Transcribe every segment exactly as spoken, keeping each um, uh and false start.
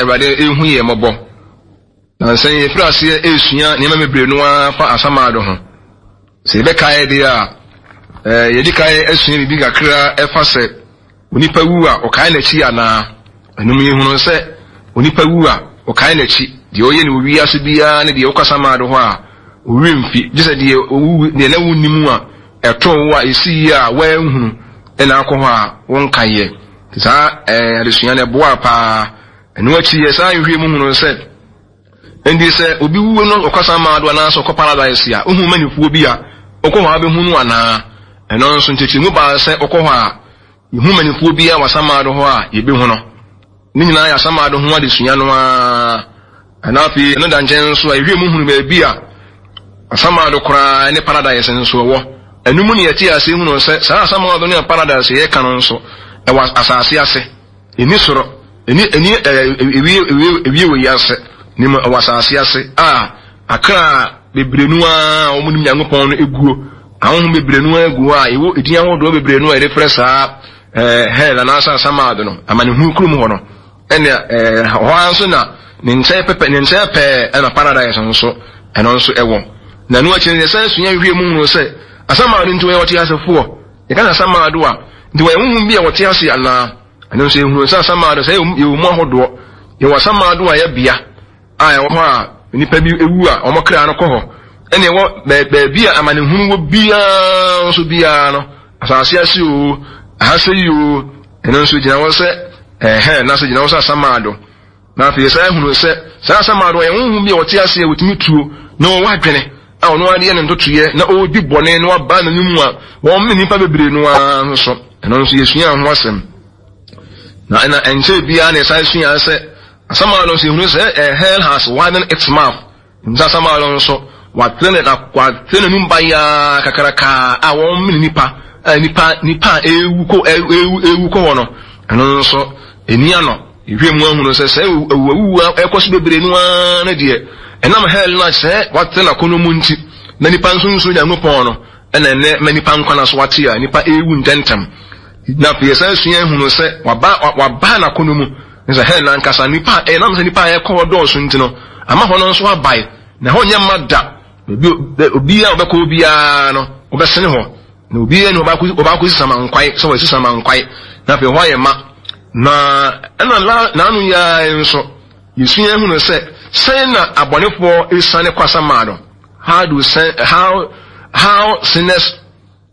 Awurade ehu yɛ mmɔbɔ. Nansa yi yɛfiri aseɛ esua nneɛma bebree no ara fa asamado ho. Sɛ yɛbɛkae deɛ a, ɛɛ yɛdi kan asua biribi kakra ɛfa sɛ onipa wu a ɔkae n'akyi anaa. Ɛnum yɛhunu sɛ onipa wu a ɔkae n'akyi, deɛ ɔyɛ no wɔ wiase biara ne deɛ ɔkɔ asamado hɔ a owie mfi, gye sɛ deɛ owu deɛ na wonni mu a ɛtoo wo a esi yie a wɔanhunu ɛna akɔ hɔ a wɔnkaeɛ. Saa ɛɛ adesua no ɛboa paa. Ɛno akyi yɛ saa nhwɛ mu hunu sɛ nti sɛ obi wu no ɔkɔ asamado anaasɛ ɔkɔ paradise a, ohu manifoɔ bi a ɔkɔ hɔ a bɛhu no anaa. Ɛno nso nkyɛkyerɛmu baa sɛ ɔkɔ hɔ a yɛhu manifoɔ bi a wɔ asamado hɔ a yɛbɛhu no. Ne nyinaa yɛ asamado ho adesua no ara. Ɛna afei ɛno da nkyɛn nso a yɛhwɛ mu hunu baabi a asamado koraa ne paradise nso ɛwɔ. Ɛno mu ne yɛte ase hunu sɛ saa asamado ne paradise yɛka no nso ɛwɔ asase ase. Ɛni soro, ɛni ɛni ɛɛ ewie ewie ewie wɔ yi ase. Ne mu ɛwɔ asase ase a akra bebree no a wɔn nim Nyankopɔn no eguo. Ahohom bebree no egu hɔ a ɛwɔ edin ahodoɔ bebree no a yɛde frɛ saa ɛɛ hell anaasɛ asamado no, amanehunu kurom hɔ no. Ɛna ɛɛ hɔ ara nso na ne nkyɛn pɛpɛ ne nkyɛn pɛɛ ɛna paradise nso ɛno nso ɛwɔ. Na ɛno akyi no yɛsan sua hwɛ mu hunu sɛ asamado nti wɔyɛ wɔte asefoɔ. Yɛka sɛ asamado a, nti wɔyɛ honhom bi a wɔte ase anaa? Ɛno nso yɛhunu sɛ asamado sɛ yɛwɔ mu ahodoɔ. Yɛwɔ asamado a ɛyɛ bea a ɛwɔ hɔ a nnipa bi ewu a wɔn kra no kɔ hɔ. Ɛna ɛwɔ baabi a amanehunu wɔ biara nso biara no, asase ase o, ahase yi o, ɛno nso gyina hɔ sɛ ɛhɛn na so gyina hɔ sɛ asamado. Na afei yɛsan hunu sɛ saa asamado ɔyɛ honhom bi a wɔte ase a wɔtumi tuo na wɔwɔ adwene a ɔno adeɛ ne ntotoeɛ na ɔredi bɔne na waba n'anim a wɔn ne nnipa bebree no ara nso. Ɛno nso yɛsua ho asɛm. Na ɛna ɛnkyɛn biara na yɛsan sua sɛ asamado nso yɛhunu sɛ eh, hell has widened its mouth. Nti asamado nso watene na watene n'anum bayaa kakraka a wɔn mene nipa a nipa nipa a ewu kɔ ewu ewu kɔ hɔ no, ɛno nso eni ano. Ehwɛ mu ahunu sɛ sɛ awuawuwu ɛkɔ so bebree no ara no deɛ, ɛnam hell no a sɛ watene n'akɔnɔ mu nti na nipa nso nso Nyankopɔn no ɛna ɛnɛ ma nipa nkwa na so wate a nipa ewu ntɛntɛm. Na afei yɛsan sua ehunu sɛ waba waba n'akɔnɔ mu sɛ hell nankasa nipa ɛnam sɛ nipa a ɛkɔ hɔ dɔɔso nti no ama hɔ no nso abae na hɔ nyɛ mma da. Obiara a ɔbɛkɔ obiara no ɔbɛsene hɔ, na obiara ni ɔbaako si samankwae sɛ wɔasi samankwae na afei hɔ ayɛ ma. Na ɛna n'ano yi ara nso yɛsua ehunu sɛ sɛn na abɔnefoɔ esiane kɔ asamado. How do sin, how how sinners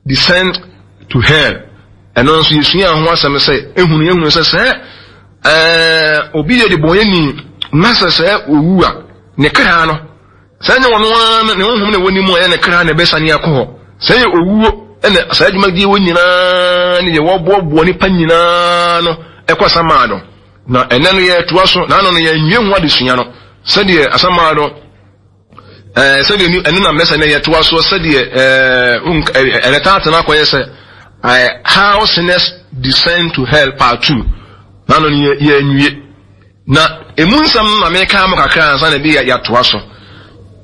descend to hell. Ɛno nso yɛsua ho asɛm sɛ ehunu ehunu sɛ sɛ ɛɛ obi yɛ de bɔnyɛni na sɛ sɛ owu a ne kra no sɛ ɛnyɛ wɔn ara ne honhom na ɛwɔ ne mu a ɛyɛ ne kra na ɛbɛsane akɔ hɔ. Sɛ ɛyɛ owuo ɛna saa adwumadie wɔ nyinaa ne deɛ wɔboaboa nipa nyinaa no ɛkɔ asamado. Na ɛnɛ no yɛtoa so na ano no yɛnwie ho adesua no sɛdeɛ asamado ɛɛ sɛdeɛ ɛno na mmɛsɛ no yɛtoa so sɛdeɛ ɛɛ ɛnɛ taate no akɔyɛ sɛ ɛɛ how sinners descend to hell part two. Na ano no yɛnwie na emu nsɛm na meka mo kakra ansa na bi yɛatoa so.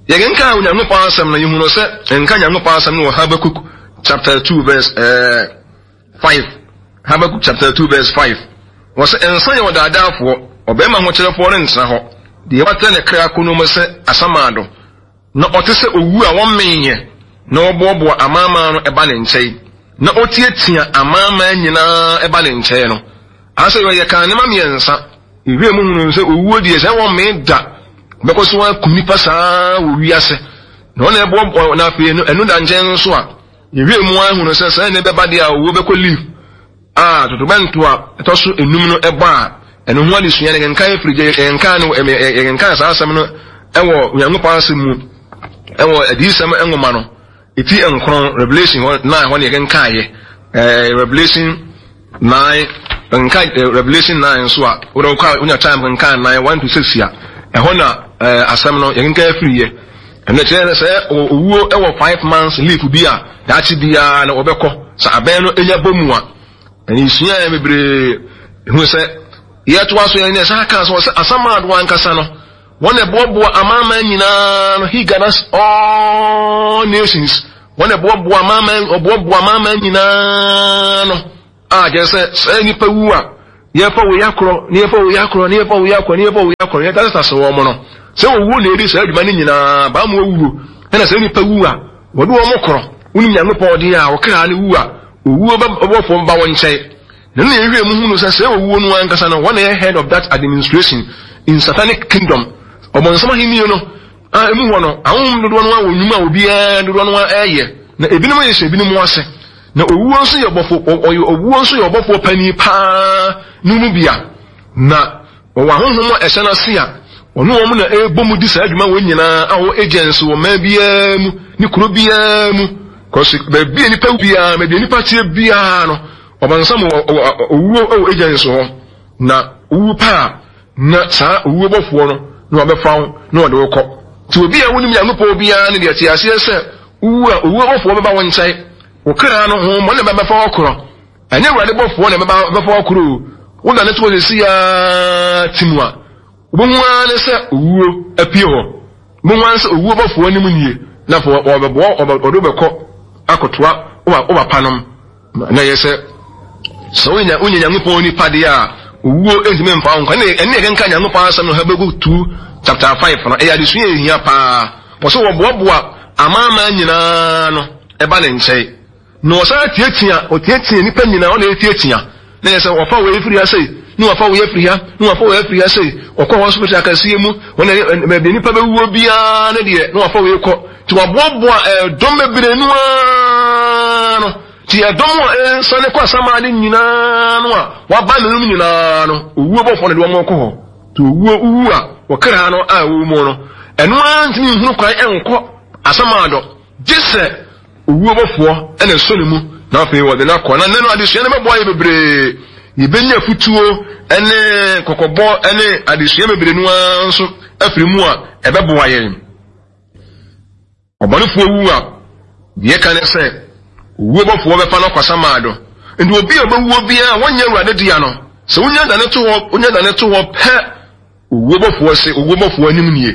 Yɛkenkan Onyankopɔn asɛm no, yɛhunu sɛ nka Nyankopɔn asɛm no wɔ Habakkuk chapter two verse uh, five. Habakkuk chapter two verse five. Wɔ sɛ nsa yɛ ɔdaadaafoɔ, ɔbarima ahokyerɛfoɔ rentena hɔ, deɛ watɛ ne kra kɔn mu sɛ asamado, na ɔte sɛ owu a wɔmmenyɛ, na wɔboaboa amanaman no ɛba ne nkyɛn, na ɔtiatia amanaman nyinaa ɛba ne nkyɛn no. Asɛ yɛyɛ kan nneɛma mmiɛnsa. Ewie mu hunu sɛ owuo deɛ sɛ wɔmmee da, bɛkɔ so akum nipa saa wɔ wiase. Na ɔna ɛboɔ na afei ɛno da nkyɛn nso a, ewie mu ahunu sɛ sɛ ne bɛba deɛ a owuo bɛkɔ leave a totobɛnto a ɛtɔ so enum no ɛbɔ a ɛno ho adesua no yɛnkan firi gye yɛnkan no yɛnkan saa asɛm no ɛwɔ Onyankopɔn asɛm mu ɛwɔ adiyisɛm nwoma no eti nkron, Revelation hɔ nine hɔ ne yɛkenkan yɛ ɛɛ Revelation nine nka Revelation nine nso a wɔde kɔ a wonya time nkan nine one to six a ɛhɔ na ɛɛ asɛm no yɛkenkan firi yɛ. Ɛno kyerɛ sɛ owuo ɛwɔ five months leave bi a daakye biara na wɔbɛkɔ sɛ abɛn no enya bɔ mu a ɛne esua yɛ bebree ehu sɛ yɛtoa so yɛn ne ɛsan aka so sɛ asamado ankasa no wɔn na ɛboaboa amanaman nyinaa no, he gathers all nations, wɔn na ɛboaboa amanaman ɔboaboa amanaman nyinaa no a kyerɛ sɛ sɛ nipa wu a Yɛfa wei akorɔ, na yɛfa wei akorɔ, na yɛfa wei akorɔ, na yɛfa wei akorɔ, yɛtasatase wɔn no. Sɛ owuo na ɛdi saa adwuma no nyinaa, baa mu owuo. Ɛna sɛ nnipa wu a, wɔde wɔn korɔ. Wonim Nyankopɔn deɛ a, wɔkra no wu a, owuo bɔfoɔ ba wɔn nkyɛn. Na ɛno na yɛhwɛ mu hunu sɛ sɛ owuo no ankasa no, wɔn na yɛ head of that administration in satanic kingdom. Ɔbɔnsam ahenni no, a emu hɔ no, ahonhom dodoɔ no ara wɔ nnwuma a obiara dodoɔ no ara ɛreyɛ, na ebinom yɛ hyɛ ebinom ase. Na owuo nso yɛ ɔbɔfo, ɔyɛ owuo nso yɛ ɔbɔfoɔ panin paa no mu bia. Na ɔwɔ ahonhom a ɛhyɛ n'ase a ɔne wɔn na ɛrebɔ mu di saa adwuma wɔn nyinaa a wɔwɔ agents wɔ mmaa biara mu ne kuro biara mu. Kɔsi baabi a nipa biara, baabi a nipa teɛ biara no, ɔbɔnsam owuo wɔ agents hɔ. Na owu paa na saa owuo bɔfoɔ no na wɔbɛfa wo na wɔde wo kɔ. Nti obi a wonim Nyankopɔn biara no deɛ te aseɛ sɛ wowu a owuo bɔfoɔ bɛba wo nkyɛn. Wo kra no ho mmɔne bɛbɛfa wo korɔ. Ɛnyɛ Awurade bɔfoɔ na ɛbɛfa wo korɔ o. Wo na ne to sisi ara ti mu a, wobɛhu ara ne sɛ owuo apue hɔ. Wobɛhu ara ne sɛ owuo bɔfoɔ anim nie, na afei wɔbɛboa wɔde wobɛkɔ akɔtoa wo papa nom. Na ɛyɛ sɛ sɛ wonya wonya Nyankopɔn nipa deɛ a, owuo ntumi mfa wo nkwa. Ɛne yɛkenka Nyankopɔn asɛm no Habakuk two chapter five no, ɛyɛ adesua a ɛhia paa. Wɔ sɛ wɔboaboa amanaman nyinaa no ɛba ne nkyɛn. Na ɔsan tiatia, ɔtiatia nnipa nyinaa, ɔna ɛtiatia. Na yɛ sɛ wɔfa wei firi ha sei, na wɔfa wei afiri ha, na wɔfa wei afiri ha sei. Ɔkɔ hospital akɛseɛ mu, wɔn baabi nnipa bɛwuo biara ne deɛ, na wɔfa wei kɔ. Nti wɔaboaboa ɛdɔm bebree no ara no. Nti ɛdɔm a ɛresane kɔ asamade nyinaa no a wɔaba ne nom nyinaa no, owuo bɔfoɔ na de wɔn kɔ hɔ. Nti owuo wu a wɔkra no a ɛwɔ mu no, ɛno ara ntumi nhunu kwan nkɔ asamado, gye sɛ owuo bɔfoɔ na ɛsɔ ne mu na afei wɔde no akɔ. Na nnɛ no adesua no bɛboa yɛ bebree. Yɛbɛnya afutuo ne kɔkɔbɔ ne adesua bebree no ara nso afiri mu a ɛbɛboa yɛn. Ɔbɔnefoɔ wu a, deɛ ɛka ne sɛ owuo bɔfoɔ bɛfa no akɔ asamado. Nti obi a ɔbɛwuo biara a wɔnyɛ Awurade dea no, sɛ wonya dane to hɔ, wonya dane to hɔ pɛ, owuo bɔfoɔ se, owuo bɔfoɔ anim nie.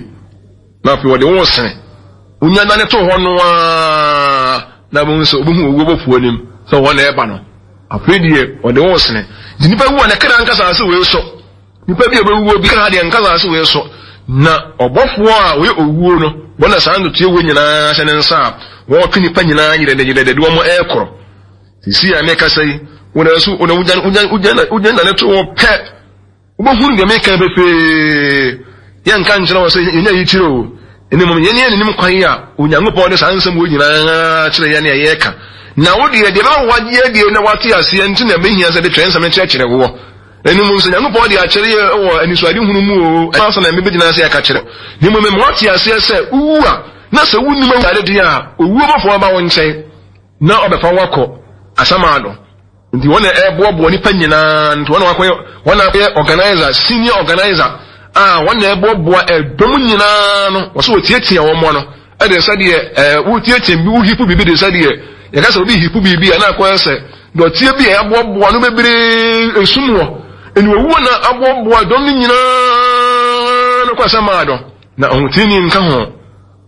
Na afei wɔde wo sene. Wonya dane to hɔ no ara, na wɔn sɛ wobɛhu owuo bɔfoɔ anim sɛ wɔn na ɛba no. Afei deɛ wɔde wo sene. Nti nipa wu a ne kra nkasa ase wei so. Nipa bi a ɔbɛwuo bi kra deɛ nkasa ase wei so. Na ɔbɔfoɔ a ɔyɛ owuo no, wɔn na saa ntotoeɛ wɔ nyinaa hyɛ ne nsa a wɔtwe nipa nyinaa yerɛdɛ yerɛdɛ de wɔn ɛrekorɔ. Sisi a mekasa yi, wɔn nso wɔn wogya wogya wogya wogya na ne to wɔ pɛ. Wobɛhunu deɛ meka pefee. Yɛnka nkyerɛ wɔ sɛ yɛnya yi kyerɛ o. Ɛne mmom yɛne yɛn nim kwan a Onyankopɔn de saa nsɛm wɔ nyinaa kyerɛ yɛn a yɛreka. Na wo deɛ deɛ bɛma wagye adie na wate aseɛ nti na ɛbɛhia sɛ de twerɛ nsɛm no kyerɛkyerɛ woɔ. Ɛno mu nso Nyankopɔn de akyerɛ yɛ wɔ anisoadehunu mu o, ɛno ansa na mebɛgyina ase aka kyerɛ. Na mmom mema woate aseɛ sɛ wowu a, na sɛ wonnim Awurade deɛ a, owuo bɔfoɔ bɛba wo nkyɛn na ɔbɛfa wo akɔ asamando. Nti wɔn na ɛboaboa nnipa nyinaa, nti wɔn na wakɔyɛ, wɔn na akɔyɛ organizer, senior organizer, a wɔn na ɛboaboa ɛdɔm nyinaa no, wɔsɛ wɔtiatia wɔn ano, ɛde sɛdeɛ ɛɛ wotiatia bi, wohipu biribi de sɛdeɛ yɛka sɛ obi hipu biribi a na akɔyɛ sɛ dɔteɛ bi a yɛaboaboa no bebree esum wɔ ɛni owuo na aboaboa dɔm no nyinaa no kɔ asɛm dɔ na ɔhotini nka ho.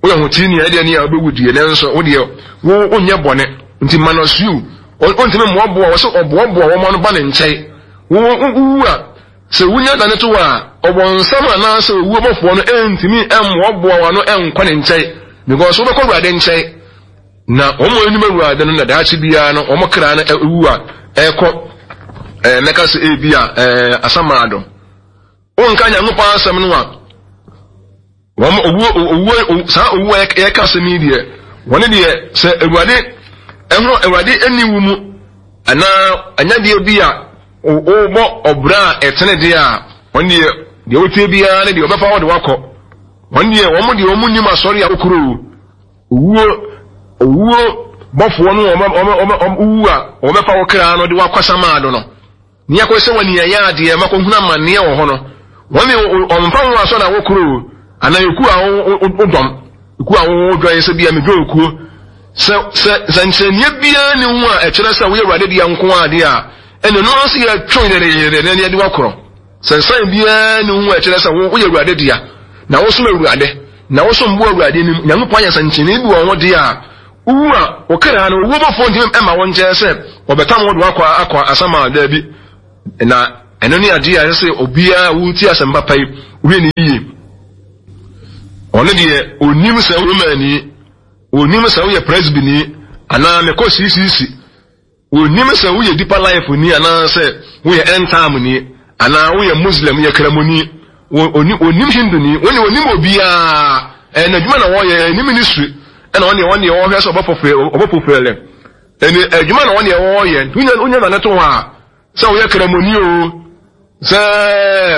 Woyɛ ɔhotini a ɛdeɛ ne a wobɛwu deɛ, nanso wo deɛ wo wonyɛ bɔne nti minus you ɔntumi mmoaboa wɔ sɛ ɔboaboa wɔn ano ba ne nkyɛn. Wo wowu a sɛ wunya dane to a ɔbɔnsam anaasɛ owuo bɔfoɔ no ɛntumi mmoaboa wɔn ano ɛnkɔ ne nkyɛn because wobɛkɔ Awurade nkyɛn. Na wɔn a anim Awurade no na daakye biara no wɔn kra no ewu a ɛkɔ ɛɛ mɛka sɛ ebi a ɛɛ asamado. Wonka Nyankopɔn asɛm no a wɔn owuo owuo saa owuo a yɛka asɛm yi deɛ wɔn deɛ sɛ Awurade ɛho Awurade ɛni wo mu anaa anyadeɛ bi a wɔbɔ ɔbra a ɛtene deɛ a wɔn deɛ deɛ wotie biara ne deɛ wɔbɛfa wɔde wakɔ wɔn deɛ wɔn deɛ wɔn nim asɔre a wokuro owuo owuo bɔfoɔ no wɔn wɔn wɔn wu a wɔbɛfa wo kra no de wakɔ samaado no. Nea ɛkɔyɛ sɛ wɔn yɛ adeɛ ma kɔhunu amanneɛ wɔ hɔ no, wɔn ne wɔmfa ho asɔre a wɔkoro o, anaa ekuo a wodɔm, ekuo a wodwan sɛ bia medwan ekuo. Sɛ sɛ nsɛnkyerɛnneɛ biara nni ho a ɛkyerɛ sɛ woyɛ Awurade dea nko ara deɛ a, ɛnna ɛno ara nso yɛtwe yerɛyerɛ na yɛde wakorɔ. Sɛ nsan biara nni ho a ɛkyerɛ sɛ woyɛ Awurade dea, na wosom Awurade, na wosom bo Awurade anim, Nyankopɔn ayɛ nsɛnkyerɛnneɛ bi wɔ ho deɛ a, wowu a, wo kra no, owuo bɔfoɔ ntumi mma wo nkyɛn sɛ wɔbɛtam wo de wakɔ akɔ asaman, daabi. Na Ɛno ne adeɛ a ɛsɛ sɛ obiara wotie asɛm papa yi wohwɛ ne yie. Ɔno deɛ onim sɛ Romani, onim sɛ woyɛ Presbyni anaa mekɔ C C C, onim sɛ woyɛ Deeper Life ni anaasɛ woyɛ End Time ni anaa woyɛ Muslim, yɛ Kramoni, onim Hindu ni, wɔne onim obiara. Ɛyɛ n'adwuma na wɔyɛ, ɛyɛ ne ministry ɛna ɔne ɔne wɔhwɛ sɛ ɔbɛfofele ɛne adwuma na ɔne wɔyɛ. Nti wonya wonya nane to hɔ a, sɛ woyɛ Kramoni o, sɛ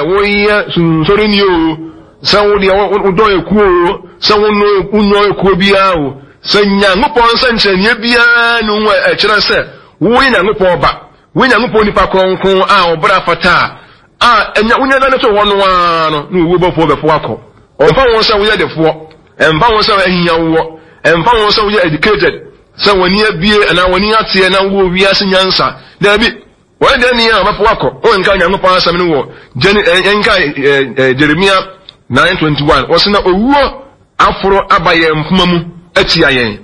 woyɛ sunsoreni o, sɛ wodeɛ wodɔ ekuo o, sɛ wonyɔ ekuo biara o, sɛ Nyankopɔn nsɛnkyerɛnneɛ biara ne ho ɛkyerɛ sɛ woyɛ Nyankopɔn ba, woyɛ Nyankopɔn nipa kronkron a ɔbra fata a a ɛnya wonya nane to hɔ no ara no, na owuo bɔfoɔ bɛfo akɔ. Ɔmfa wɔn sɛ woyɛ defoɔ, ɛmfa wɔn sɛ ahia wowɔ, ɛmfa wɔn sɛ woyɛ educated, sɛ w'ani abie anaa w'ani ateɛ na wowɔ wiase nyansa. Daabi, wɔyɛ dɛn ni a ɔbɛfo akɔ. Wɔnka Nyankopɔn asɛm no wɔ ɛnka Jeremia nine twenty-one, wɔsɛ na owuo aforo aba yɛn mpoma mu atia yɛn,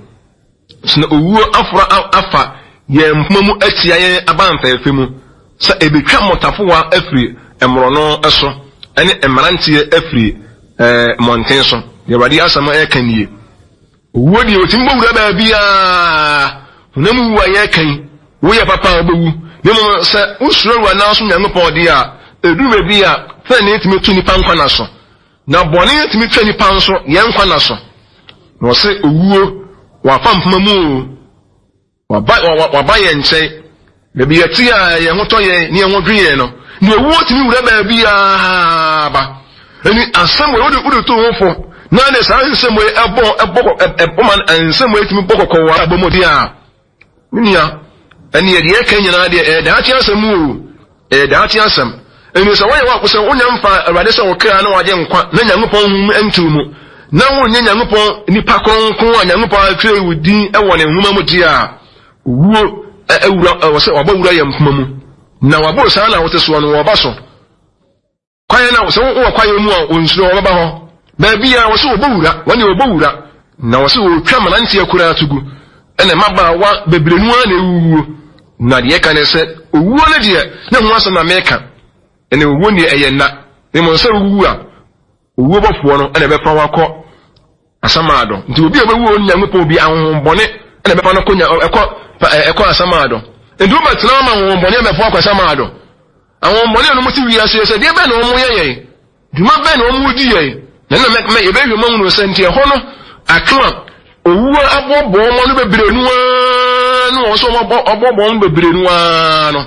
sɛ na owuo aforo afa yɛn mpoma mu atia yɛn aba mfɛɛfɛ mu, sɛ ebetwa mmɔtafowa afiri mmorɔno so ɛne mmeranteɛ afiri ɛɛ mmɔnten so. Deɛ Awurade asɛm ɛreka nie. Owuo deɛ, otumi bɔ wura baabiara. Honam wu a yɛreka yi, woyɛ papa a, wobɛwu. Na mmom sɛ wosuro Awurade na wosom Nyankopɔn deɛ a, ɛduru baabi a fɛn tumi to nipa nkwa na so, na bɔne tumi twa nipa nso yɛn nkwa na so. Na ɔsɛ owuo wafa mpoma mu o, waba waba yɛn nkyɛn baabi yɛte a yɛn ho tɔ yɛn ne yɛn ho dwe yɛn no, na owuo tumi wura baabiara ba. Ɛni asɛm wɔ wode wode to ho fo na ne saa nsɛm wɔ ɛbɔ ɛbɔ ɛbɔ ma nsɛm wɔ etumi bɔ kɔkɔ wɔ abɔ mu deɛ a, ne nua, ɛne yɛde yɛka nyinaa deɛ, ɛyɛ daakye asɛm o, ɛyɛ daakye asɛm. Ɛni sɛ wɔyɛ wɔ sɛ wonya mfa Awurade sɛ wɔkra na wagye nkwa na Nyankopɔn hu ntiw mu na wonyɛ Nyankopɔn nipa kronkron a Nyankopɔn atwerɛ wo din wɔ ne nwoma mu deɛ a, owuo awura ɛwɔ sɛ wabɔ wura yɛ mpoma mu na wabɔ saa na wote soɔ no, wɔba so kwaeɛ na sɛ wowɔ kwaeɛ mu a, onsuro, wɔbɛba hɔ baabi a wɔsɛ wɔbɔ wura, wɔne wɔbɔ wura na wɔsɛ wɔtwa mmeranteɛ koraa to gu, ɛna mmabaawa bebree no ara na ɛwuwuo. Na deɛ ɛka ne sɛ owuo no deɛ, ne ho asɛm na meka. Ɛna owuo deɛ, ɛyɛ nna, ne mmom sɛ wowu a, owuo bɔfoɔ no ɛna ɛbɛfa wakɔ Asamaado. Nti obi a ɔbɛwu wɔ Nyankopɔn bi ahohombɔne ɛna ɛbɛfa no kɔ ɛkɔ ɛkɔ Asamaado. Nti wobɛtena ama ahohombɔne ɛbɛfa akɔ Asamaado. Ahohombɔne a wɔn ti wiase sɛ deɛ bɛn na wɔn yɛ yɛn dwuma, bɛn na wɔn di yɛn, na ɛna mɛ yɛbɛhwɛ mu ahunu sɛ nti ɛhɔ no aka a owuo aboaboa wɔn ano bebree no ara no, wɔn nso wɔn aboaboa wɔn bebree no ara no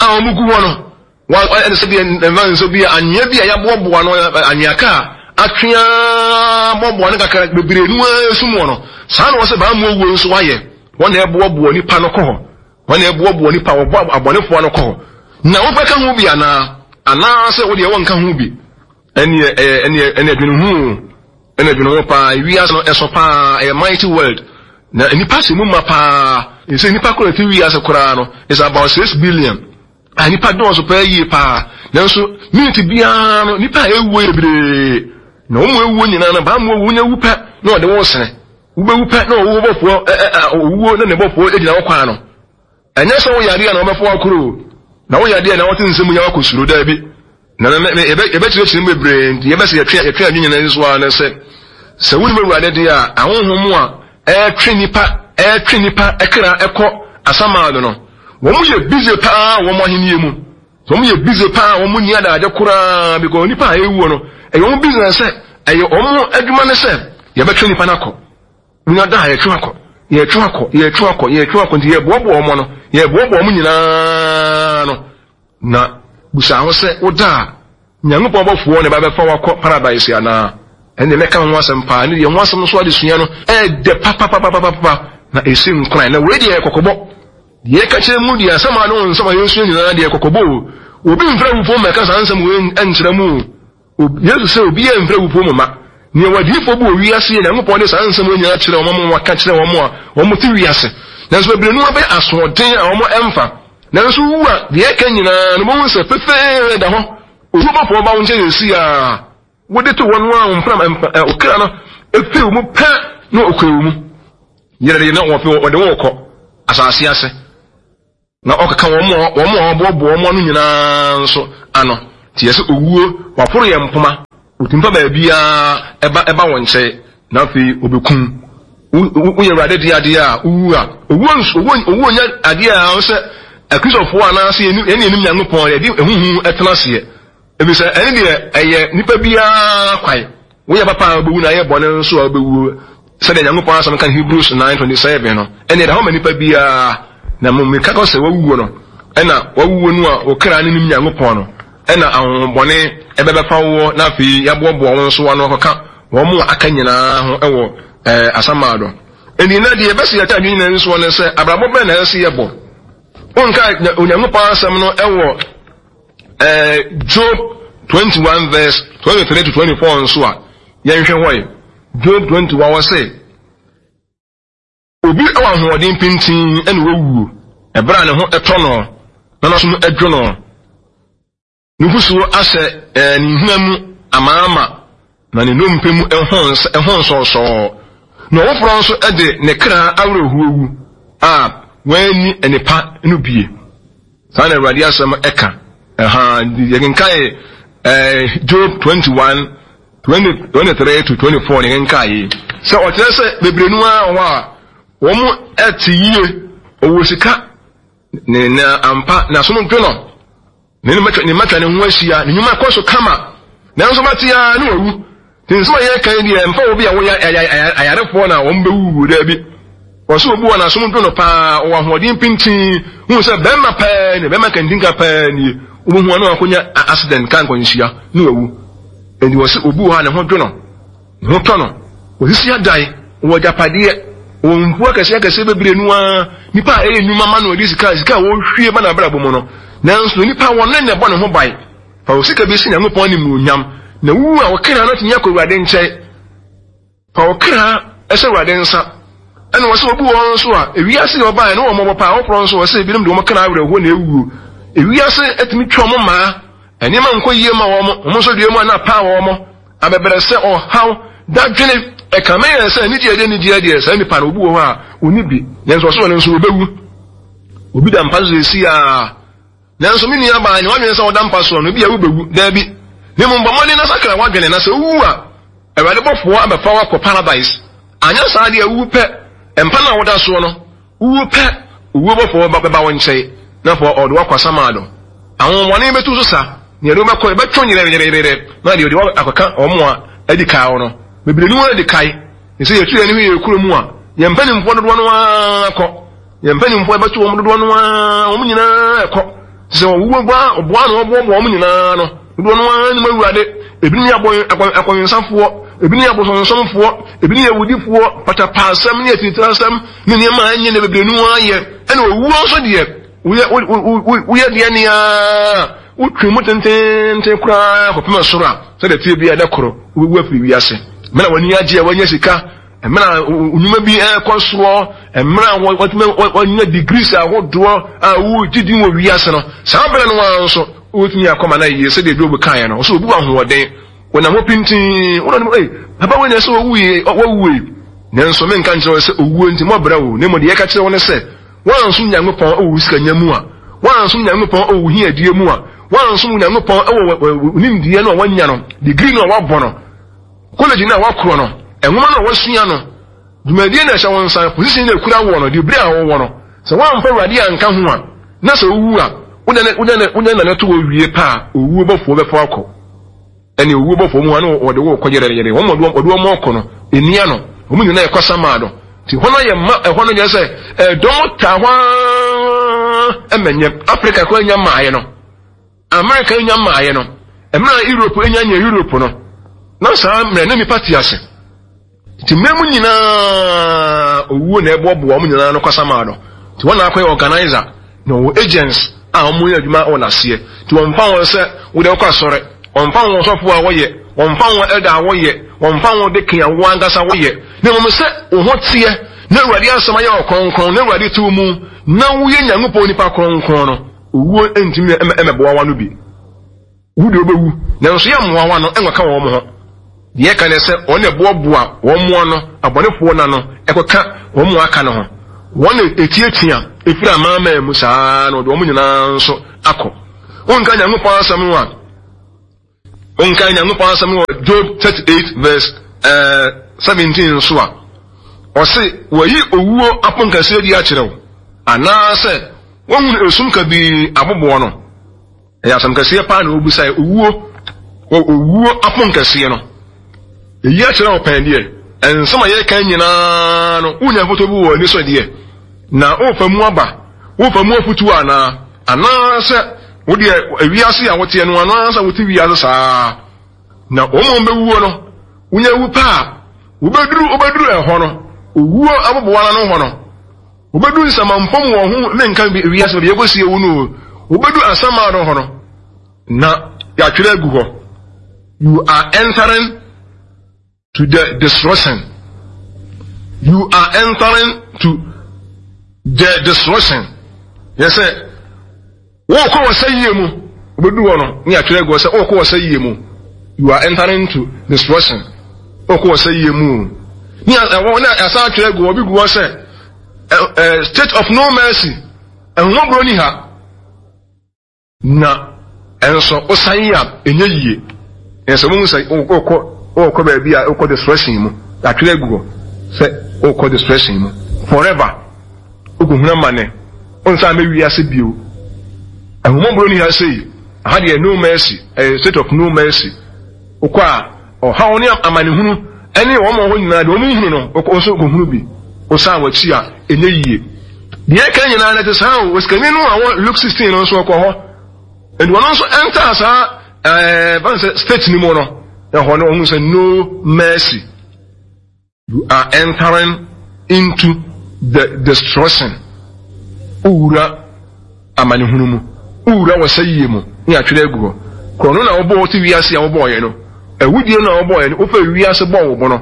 a wɔn gu hɔ no, wa ɛne sɛ deɛ mfa nso bi anwea bi a yɛaboaboa no, anwea kaa atwea boaboa no kakra bebree no ara esum wɔ no saa na wɔsɛ baa mu owuo nso wayɛ. Wɔn na ɛboaboa nipa no kɔ hɔ, wɔn na ɛboaboa nipa wɔbɔ abɔnefoɔ no kɔ hɔ. Na wobɛka ho bi anaa anaasɛ wodeɛ wɔnka ho bi? Ɛneɛ ɛyɛ ɛneɛ ɛneɛ dwene ho, ɛna dwene ho paa. Wiase no ɛso paa, ɛyɛ mighty world na nipa sɛ mu ma paa. Sɛ nipa kora ti wiase koraa no is about six billion a nipa dɔɔso paa yie paa. Nanso miniti biara no, nipa a ewuo yɛ bebree, na wɔn mu ewuo nyinaa no, baa mu owuo nya wu pɛ na ɔde wɔn sene. Wobɛwu pɛ na owuo bɔfoɔ ɛ ɛ owuo na ne bɔfoɔ gyina wɔ kwan no. Ɛnyɛ sɛ woyɛ adeɛ na wɔbɛfo akoro na woyɛ adeɛ na wɔte nsɛm yɛ wakɔ suro. Daabi, na yɛbɛkyerɛkyerɛ mu bebree. Nti yɛbɛsɛ yɛtwe yɛtwe adwene nyinaa nso a ne sɛ sɛ wonim Awurade deɛ a, ahonhom a ɛretwe nipa ɛretwe nipa ɛkra ɛkɔ Asamaado no, wɔn yɛ busy paa wɔn ahenni mu. Wɔn yɛ busy paa, wɔn ni adagye koraa, because nipa a ɛwuo no, ɛyɛ wɔn business, sɛ ɛyɛ wɔn adwuma ne sɛ yɛbɛtwe nipa no akɔ. Wonya da a, yɛtwe akɔ, yɛtwe akɔ, yɛtwe akɔ, yɛtwe akɔ. Nti yɛboaboa wɔn no, yɛboaboa wɔn nyinaa no. Na busa ho sɛ woda a, Nyankopɔn bɔfoɔ ne ba bɛfa wakɔ paradise anaa? Ɛne mɛka ho asɛm paa. Ne deɛ ho asɛm nso adesua no ɛɛdɛ papapapapapa na ɛsi nkoran. Na wei deɛ, kɔkɔbɔ deɛ ɛka kyerɛ mu deɛ, asɛm a ne wo nsɛm a yɛnsua nyinaa deɛ, kɔkɔbɔ o. Obi mfrɛ wufoɔ mmɛka saa nsɛm wei nkyerɛ mu o. Yesu sɛ obi yɛ mfrɛ wufoɔ mu ma nea wadiifoɔ bi wɔ wiase yɛ. Nyankopɔn de saa nsɛm wei nyinaa kyerɛ wɔn, waka kyerɛ wɔn a wɔn te wiase, nanso bebree no abɛyɛ asoɔden a wɔn ɛmfa. Nanso wu a, deɛ ɛka nyinaa no, wɔn sɛ pefee da hɔ. Owuo bɔfoɔ ba wo nkyɛn yɛ si a wode to wɔn a mfram okra no efiri wo mu pɛ na okura wo mu yɛrɛ de na wɔpɛ wɔde wɔn kɔ asase ase. Na ɔkeka wɔn a wɔn a wɔboaboa wɔn ano nyinaa nso ano. Nti yɛsɛ owuo waporo yɛn mpoma, otumi fa baabiara ɛba ɛba wɔn nkyɛn, na afei obekum. Woyɛ Awurade de adeɛ a wowu a, owuo nso owuo owuo nyɛ adeɛ a sɛ Akristofoɔ anaasɛ yɛn yɛn yɛnim Nyankopɔn yɛde ehuhu ɛtena aseɛ. Ebisɛ ɛne deɛ ɛyɛ nipa biara kwan. Woyɛ papa a wobɛwu na ayɛ bɔne nso a wobɛwu. Sɛdeɛ Nyankopɔn asɛm ka Hebrews nine twenty seven no, ɛne ɛda hɔ ma nipa biara. Na mmom meka kɔ sɛ wawuo no, ɛna wawuo no a okra ne nim Nyankopɔn no, ɛna ahohombɔne ɛbɛbɛfa woɔ, na afei yɛaboaboa wɔn nso ano akɔka wɔn mu a aka nyinaa ho ɛwɔ ɛɛ asamado. Ɛni na deɛ ɛbɛsi yɛta adwene nyinaa nsoɔ ne sɛ abrabɔ bɛn na ɛsɛ yɛbɔ. Wonka Onyankopɔn asɛm no ɛwɔ ɛɛ Job twenty one verse twenty three to twenty four nso a yɛnhwɛ hɔ yi. Job twenty one wɔ se obi wɔ ahoɔden pintin ɛna wawuo ɛberɛ a ne ho ɛtɔ no na n'asom ɛdwo no, nufusuo ahyɛ ɛɛ ne nhina mu amaama na ne nnompe mu ɛho ns ɛho nsɔɔsɔɔ, na ɔfoforɔ nso ɛde ne kra awerɛhoɔ wu a wɔanni nnepa no bie. Saa na Awurade asɛm ɛka. Ɛha yɛkenkae ɛɛ Job twenty one twenty twenty three to twenty four ne yɛkenkae sɛ ɔkyerɛ sɛ bebree no ara wɔ a wɔn ɛte yie, ɔwɔ sika ne na ampa n'asom dwo no, ne ne mmatwa ne mmatwa ne ho ahyia, ne nnwuma kɔ so kama, nanso bɛte ara ne wawu. Nti nsɛm a yɛka yi deɛ mfa obi a wɔyɛ ayarefoɔ na wɔn bɛwuwu daabi. Wɔsɛ obi wɔ n'asom dwo no paa, ɔwɔ ahoɔden pintin, hu sɛ bɛrima pɛɛ ne bɛrima kantinka pɛɛ nie, wobɛhu ano akɔnya accident ka nkwanhyia ne wawu. Nti wɔsɛ obi wɔ hɔ a ne ho dwo no, ne ho tɔ no, wɔsisi adan, wɔ agyapadeɛ, wɔ mfuo akɛseɛ akɛseɛ bebree no ara, nipa a ɛyɛ nnwuma ma no ɔde sika sika a wɔhwie ba n'abrabɔ mu no, nanso nipa wɔn ne na ɛbɔ ne ho ban. Fa wo sika bi si Nyankopɔn animuonyam, na wuwu a wɔkra no tumi akɔ Awurade nkyɛn. Fa wo kra ɛhyɛ Awurade nsa. Ɛna wɔsɛ obi wɔ nso a ewiase yɛ ɔbaa ne wɔn mmɔbɔ paa, wɔkorɔ nso wɔsɛ ebinom de wɔn kra awerɛhoɔ na ewuo. Ewiase etumi twa wɔn mmaa, nneɛma nkɔ yie ma wɔn, wɔn nso deɛ mu a na paa wɔn abɛbrɛsɛ ɔhaw dadwene ɛkame yɛn sɛ anigye ɛdeɛ anigye deɛ saa nipa no obi wɔ hɔ a onni bi, nanso ɔsɛ wɔn nso obewu. Obi da mpa so esi a, nanso me nua baa ne wadwene sɛ ɔda mpa soɔ no ebi a wobɛwu daabi. Ne mu bɔ mmɔden na sakra wadwene, na sɛ wowu a Awurade bɔfoɔ abɛfa wo akɔ paradise. Anyɛ saa deɛ wowu pɛ, mpa no a woda soɔ no wowu pɛ, owuo bɔfoɔ bɛba wo nkyɛn na afɔ ɔde wo akɔ asamado. Ahohommɔne bɛtu so sa, nea ɛde wobɛkɔ ɛbɛtwe yerɛyerɛyerɛ na deɛ ɔde wo akɔka wɔn a adi kae wo no bebree no adi kae. Ne sɛ yɛtu yɛn ho yɛ kuro mu a, yɛn mpanimfoɔ dodoɔ no ara kɔ, yɛn mpanimfoɔ ɛbɛto wɔn dodoɔ no ara, wɔn nyinaa ɛkɔ. Sɛ ɔwuo boa ɔboa na ɔboaboa wɔn nyinaa no dodoɔ no ara nim Awurade. Ebinom yɛ akɔnsafoɔ, ebinom yɛ abosonsomfoɔ, ebinom yɛ awudifoɔ, patapaasɛm ne atiritirasɛm ne nneɛma a ɛnyɛ ne bebree no ara yɛ. Ɛna owuo nso deɛ woyɛ woyɛ deɛ nea wotwe mu tententen koraa kɔpem soro a, sɛdeɛ tie bi a ɛda koro wobɛwu afiri wiase. Mmerɛ a w'ani agye a wanya sika, mmerɛ a nnwuma bi ɛrekɔ soɔ, mmerɛ a wɔtumi wɔanya degrees ahodoɔ a wogye din wɔ wiase no, saa berɛ no ara nso wotumi akɔma no ayie sɛdeɛ Job kaeɛ no, ɔsɛ obi wɔ ahoɔden, wɔnam hɔ pintinn, wɔn anim, ei, papa wei na ɛsɛ wɔwuie, wɔwuie. Nanso menka nkyerɛ wo sɛ owuo nti mɔbrɛ wo, na mmom deɛ yɛka kyerɛ wo ne sɛ, woansom Nyankopɔn wɔ wo sikanya mu a, woansom Nyankopɔn wɔ wo hiadie mu a, woansom Nyankopɔn wɔ wo nimdeɛ no a woanya no, degree no a woabɔ no, college no a woakorɔ no, nwoma no a woasua no, dwumadie no a ɛhyɛ wo nsa, position no a ɛkura woɔ no, degree a wowɔ no, sɛ woamfa Awurade anka ho a, na sɛ wowu a, wode nane to wɔ wie pa a, owuo bɔfoɔ bɛfa akɔ. Ɛne owuo bɔfoɔ mu hɔ ne wɔde wo kɔ yerɛyerɛ, wɔn wɔde wɔn ɔkɔ no, ɛnia no, wɔn nyinaa ɛkɔ samaa no. Nti hɔ no yɛ mma, ɛhɔ no nyɛ sɛ ɛdɔm taa hɔ ara ɛmɛnyɛ. Africa kɔ anya mmaayɛ no, America anya mmaayɛ no, mmerɛ a Europe anya nyɛ Europe no, na saa mmerɛ na nipa te ase. Nti mmerɛ mu nyinaa owuo na ɛboaboa wɔn nyinaa no kɔ samaa no. Nti wɔn na akɔyɛ organizer na wɔwɔ agents a wɔn yɛ adwuma wɔ n'aseɛ. Nti wɔmfa wɔn sɛ wode wokɔ asɔre, wɔmfa wɔn sɔfo a wɔyɛ, wɔmfa wɔn elder a wɔyɛ, wɔmfa wɔn deacon a wɔn ankasa wɔyɛ. Na mmom sɛ wo ho teɛ na Awurade asɛm ayɛ wo kronkron na Awurade te wo mu na woyɛ Nyankopɔn nipa kronkron no, owuo ntumi mmɛboa w'ano bi. Wu deɛ wobɛwu, nanso yɛ mmoa w'ano nkɔka wɔn ho. Deɛ ɛka ne sɛ wɔn na ɛboaboa wɔn mmoa no, abɔnefoɔ no ano, ɛkɔka wɔn mmoa aka no ho. Wɔn na ɛtiatia Ɛfiri amanaman mu saa na ɔde wɔn nyinaa nso akɔ. Wonka Nyankopɔn asɛm no a, wonka Nyankopɔn asɛm no wɔ Job thirty-eight verse uh, seventeen nso a, ɔse wɔyi owuo aponkɛseɛ di akyerɛ wo, anaasɛ wohunu esum kabii aboboɔ no. Ɛyɛ asɛm kɛseɛ paa na wɔbusae, owuo, wɔ owuo aponkɛseɛ no. Eyi akyerɛ wo pɛn deɛ, nsɛm a yɛka nyinaa no, wonya mfoto bi wɔ ani so deɛ, na wofa mu aba, wofa mu afutuo anaa, anaasɛ wo deɛ ewiase a woteɛ no, anaasɛ wote wiase saa, na wɔn a wɔbɛwuo no, wonya wu paa, wobɛduru wobɛduru ɛhɔ no, owuo aboboa no hɔ no, wobɛduru nsamanpɔ mu wɔ ho, menka wiase baabi yɛkɔsie wo no, wobɛduru asamaa no hɔ no, na yɛatwerɛ agu hɔ, you are entering to the destruction. You are entering to the destruction. Yes, sir. Wokɔ wɔ sɛ yie mu, wobɛduru hɔ no, ne yɛatwerɛ agu hɔ sɛ wokɔ wɔ sɛ yie mu. You are entering to destruction. Wokɔ wɔ sɛ yie mu. Ne ɛwɔ ne asan atwerɛ agu hɔ, bi gu hɔ sɛ state of no mercy. Ɛnwomɔborɔ ni ha. Na ɛnso wosan yi a ɛnyɛ yie. Ɛsɛ mo sɛ wokɔ wokɔ baabi a wokɔ destruction mu. Atwerɛ agu hɔ sɛ wokɔ destruction mu forever. Wokɔhunu amane. Wonsan bɛwi ase bio. Ɛnwomɔborɔ ni ha sei. Aha deɛ no mercy, ɛyɛ state of no mercy. Wokɔ a ɔhaw ne amanehunu ɛne wɔn a wɔn nyinaa deɛ wɔn nhunu no, wokɔ nso kɔhunu bi. Wosan w'akyi a ɛnyɛ yie. Deɛ ɛka nyinaa no te saa o. Osikani no a wɔ Luke sixteen no nso ɔkɔ hɔ. Nti ɔno nso ɛntaa saa ɛɛ ban sɛ state ni mu no, ɛhɔ no ɔhu sɛ no mercy. You are entering into the destruction. Owura amanehunu mu, owura wɔ sɛ yie mu, ne atwerɛ agu hɔ. Korɔ no na wɔbɔɔ te wiase a wɔbɔɔyɛ no, awudie no na wɔbɔɔyɛ no, wofa wiase bɔɔ wo bo no,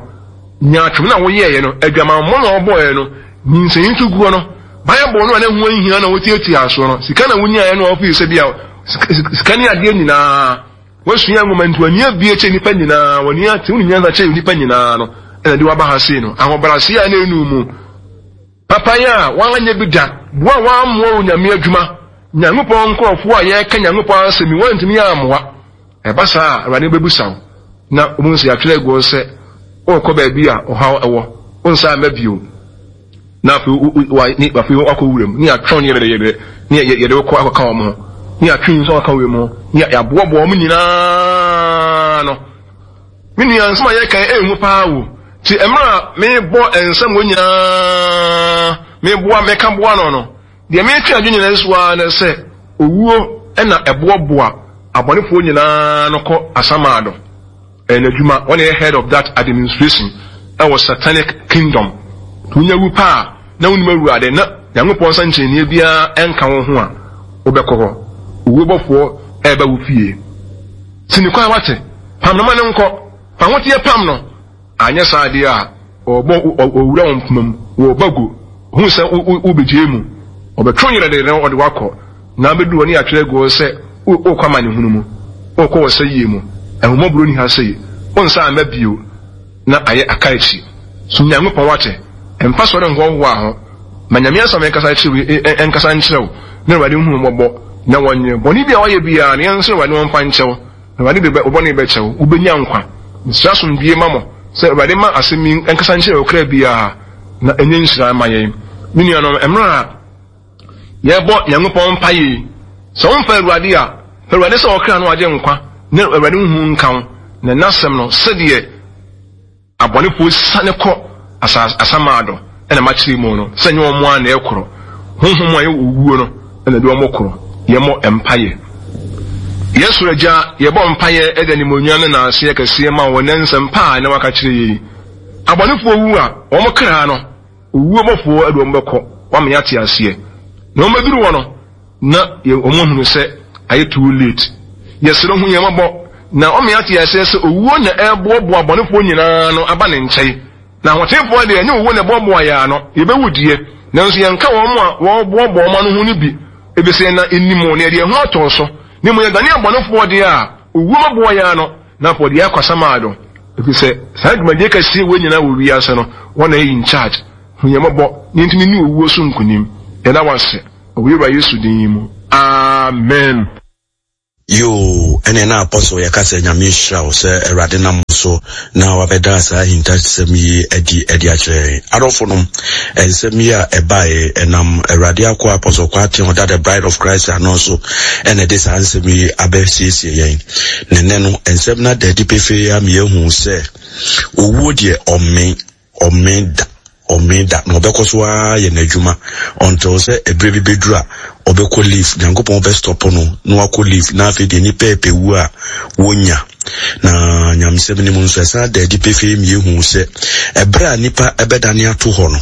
nyaatwom na wɔyɛɛyɛ no, adwamammɔ na wɔbɔɔyɛ no, nyinsɛn to guɔ no, Bible no a ne ho nhia na wɔtiatia soɔ no, sika na wonyaeɛ no a wɔfii sɛ bia sika ne adeɛ nyinaa, wɔasua nwoma nti wɔani abie kyɛ nnipa nyinaa, wɔani ate, wo ne nyansa kyɛ nnipa nyinaa no, ɛna de waba ha sei no, ahobrɛaseɛ a na ɛnu mu, papayɛ a wɔanyɛ bi da, boa a wɔammoa wo Nyame adwuma, Nyankopɔn nkurɔfoɔ a yɛreka Nyankopɔn asɛm yi, wɔantumi ammoa. Ɛba saa a, Awurade bɛbusa wo, na wobɛhu sɛ yɛatwerɛ agu hɔ sɛ worekɔ baabi a ɔhaw ɛwɔ, wonsan mma bio. Na afei afei wakɔ wuram, ne yɛatwɛn ne yɛde yɛde ne yɛde wokɔ akɔka wɔn ho, ne yɛatwe nso akɔka wɔn ho, ne yɛaboaboa wɔn nyinaa no. Me nua, nsɛm a yɛka ɛnhu paa wo. Ti mmerɛ a mebɔ nsɛm wɔ nyinaa, meboa meka boa no no, deɛ metwe adwene nyinaa so ara ne sɛ owuo ɛna ɛboaboa abɔnefoɔ nyinaa no kɔ asamado. Ɛyɛ n'adwuma, wɔn yɛ head of that administration ɛwɔ satanic kingdom. Wonya wu paa na wonim Awurade na Nyankopɔn nsa nkyerɛnneɛ biara ɛnka wo ho a, wobɛkɔ hɔ. Owuo bɔfoɔ ɛreba wo fie. Sini kwan wate, pam no ma no nkɔ, fa ahoteɛ pam no. Anyɛ saa adeɛ a, ɔbɔ owura wo mpoma mu, wɔba gu, hu sɛ wobɛgye mu, ɔbɛtwe yerɛ de ɔde wakɔ, na bɛduru hɔ ne yɛatwerɛ agu hɔ sɛ wokɔ amanehunu mu, wokɔ wɔ sɛ yie mu, ahummɔborɔ ni ha sei, wonsa amma bio, na ayɛ aka akyi. So Nyankopɔn wate, mfa sɔre nkɔhoa ho, ma Nyame asɛm ɛnkasa kyerɛ ɛnkasa nkyerɛ wo, na Awurade hu mmɔbɔ, na wɔnyɛ bɔne bi a wɔyɛ biara, na yɛnsrɛ Awurade wɔmfa nkyɛ wo, na Awurade de wo bɔne bɛkyɛ wo, wobɛnya nkwa. Mesrɛ asomdwie ma mo, sɛ Awurade ma asɛm yi ɛnkasa nkyerɛ wo kra biara, na ɛnyɛ nhyira ma yɛn. Me nuanom, mmerɛ a yɛbɔ Nyankopɔn mpaeɛ yi, sɛ womfa Awurade a, fa Awurade sɛ ɔkra no agye nkwa, na Awurade hu nka wo, na n'asɛm no, sɛdeɛ abɔnefoɔ siane kɔ asamado ɛna makyerɛ mu no, sɛ nyɛ wɔn a na ɛkorɔ, honhom a ɛyɛ owuo no ɛna de wɔn korɔ. Yɛmmɔ mpaeɛ. Yɛn soro Agya, yɛbɔ mpaeɛ ɛde animuonyam ne n'aseɛ kɛseɛ ma wɔn nsɛm paa na waka kyerɛ yɛn. Abɔnefoɔ wu a, wɔn kra no, owuo bɔfoɔ ɛde wɔn bɛkɔ, wɔama yɛate aseɛ. Na wɔn bɛduru hɔ no, na wɔn ahunu sɛ ayɛ too late. Yɛsrɛ hu yɛn mmɔbɔ, na wɔama yɛate aseɛ sɛ owuo na ɛreboaboa abɔnefoɔ nyinaa no aba ne nkyɛn. Na ahotefoɔ deɛ, ɛnyɛ owuo na ɛboaboa yɛn ano, yɛbɛwu deɛ, nanso yɛnka wɔn a wɔboaboa wɔn ano ho no bi, efisɛ na nnim na yɛde yɛn ho atɔ so. Na mmom yɛdane abɔnefoɔ deɛ a, owuo bɛboa yɛn ano, na afɔ deɛ akɔ asamado, efisɛ saa dwumadie kɛseɛ wɔ nyinaa wɔ wiase no, wɔn na ɛyɛ in charge. Hu yɛn mmɔbɔ, na yɛntumi nni owuo so nkonim. Yɛda wo ase wɔ Wura Yesu din mu. Amen. Yoo, ɛneɛ na Apostle yɛka sɛ Nyame nhyira wo sɛ Awurade nam wo so na wabɛda saa ahintasɛm yi adi ɛde akyerɛ yɛn. Adɔfo nom, nsɛm yi a ɛbaeɛ ɛnam Awurade akoa Apostle Kwarteng ɔda The Bride of Christ ano so ɛna ɛde saa nsɛm yi abɛsiesie yɛn. Na ɛnɛ no, nsɛm no ada adi pefee ama yɛahu sɛ owuo deɛ ɔmmen, ɔmmen da. Ɔmmee da, na ɔbɛkɔ so ara ayɛ n'adwuma until sɛ ɛberɛ bi bɛduru a ɔbɛkɔ leave, Nyankopɔn bɛ stop no na wakɔ leave, na afei deɛ nnipa ɛpɛ wuo a wɔnnya. Na nyamesɛm no mu nso ɛsan da adi pefee ma yɛhu sɛ ɛberɛ a nnipa ɛbɛdane ato hɔ no,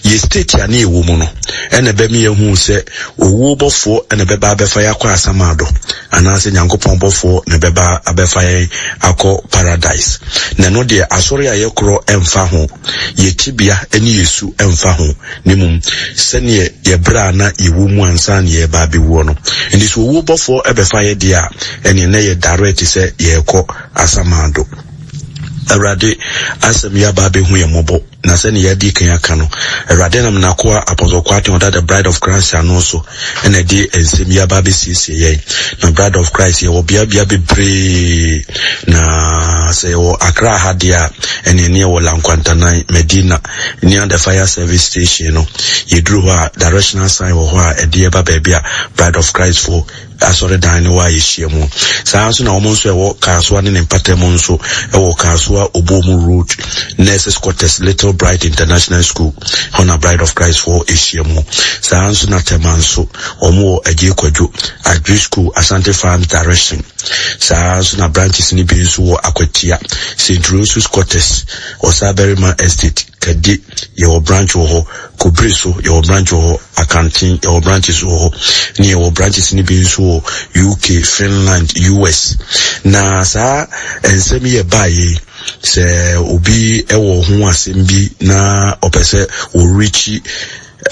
yɛ state a ne yɛwɔ mu no ɛna ɛbɛma yɛhu sɛ owuo bɔfoɔ ɛna ɛbɛba abɛfa yɛn akɔ asamado, anaasɛ Nyankopɔn bɔfoɔ na ɛbɛba abɛfa yɛn akɔ paradise. Na ɛno deɛ asɔre a yɛkorɔ ɛmfa ho, yɛ tebea ne yɛ su mfa ho, na mmom sɛdeɛ yɛ berɛ a na yɛwɔ mu ansa na yɛreba abɛwuo no. Nti sɛ owuo bɔfoɔ bɛfa yɛ deɛ a, ɛneɛ na ɛyɛ direct sɛ yɛrekɔ asamando. Awurade asɛm yi aba abɛhu yɛn mmɔbɔ, na sɛdeɛ yɛadi kan aka no, Awurade nam n'akoa Apostle Kwarteng ɔda The Bride of Christ ano so na ɛde nsɛm yi aba abɛsiesie yɛn. Na Bride of Christ yɛwɔ beabea bebree, na sɛ yɛwɔ Accra ha deɛ a, ɛne ɛne yɛwɔ Lankwantanan, Medina, near the fire service station no. Yɛduru hɔ a, directional sign wɔ hɔ a ɛde yɛba baabi a Bride of Christ fo asɔredan no wɔ a yɛhyia mu. Saa nso na wɔn nso ɛwɔ Kasoa ne ne mpata mu nso ɛwɔ Kasoa Obomu Road, Nurses Quarters, Little Bright International School, hɔ na Bride of Christ foɔ ɛhyia mu. Saa nso na Tema nso, wɔn wɔ Adjei Kwadwo, Agri School, Asante Farms Direction. Saa nso na branches no bi nso wɔ Akwatia, Saint Rose's Quarters, Ɔsabarima Estate, Kade, yɛwɔ branch wɔ hɔ, Kobere so, yɛwɔ branch wɔ hɔ, Akanten, yɛwɔ branches wɔ hɔ, ne yɛwɔ branches no bi nso wɔ U K, Finland, U S. Na saa nsɛm yi ɛbaeɛ yi, sɛ obi wɔ ho asɛm bi na ɔpɛ sɛ ɔrekyi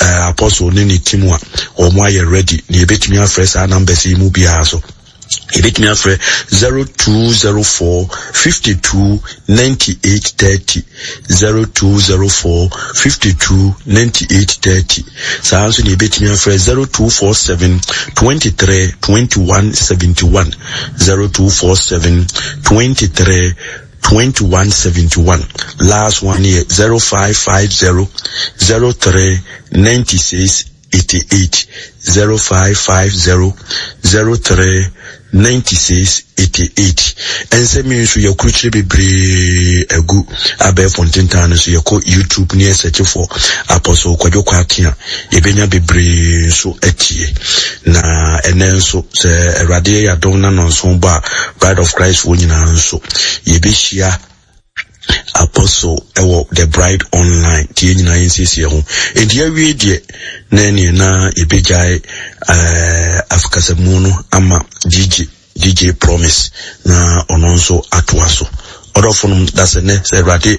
eh, Apostle ne ne team a, wɔn ayɛ ready, na yɛbɛtumi afrɛ saa numbers yi mu biara so. Yɛbɛtumi afrɛ zero two zero four fifty two ninety eight thirty, zero two zero four fifty two ninety eight thirty. Saa nso na yɛbɛtumi afrɛ zero two four seven twenty three twenty one seventy one, zero two four seven twenty three twenty one seventy one. Last one yɛ zero five five zero zero three ninety six eighty eight, zero five five zero zero three ninety six eighty eight. Nsɛm yi nso yɛkurukyire bebree agu abɛɛfo ntentan no so. Yɛkɔ YouTube ne yɛsɛkye for Apostle Kwadwo Kwarteng a, yɛbɛnya bebree nso atie. Na ɛnɛ nso sɛ Awurade yɛ yɛadom na nɔnso bɔ a, Bride of Christ foɔ nyinaa nso yɛbɛhyia Apostle ɛwɔ The Bride Online. Nti yɛn nyinaa yɛnsiesie ho. Enti yɛawie deɛ na ɛneɛ na yɛbɛgyae, eh, afkasamu no ama D J, D J Promise na ɔno nso atoa so. Ɔdɔfo nom, da sɛ nnɛ sɛ Awurade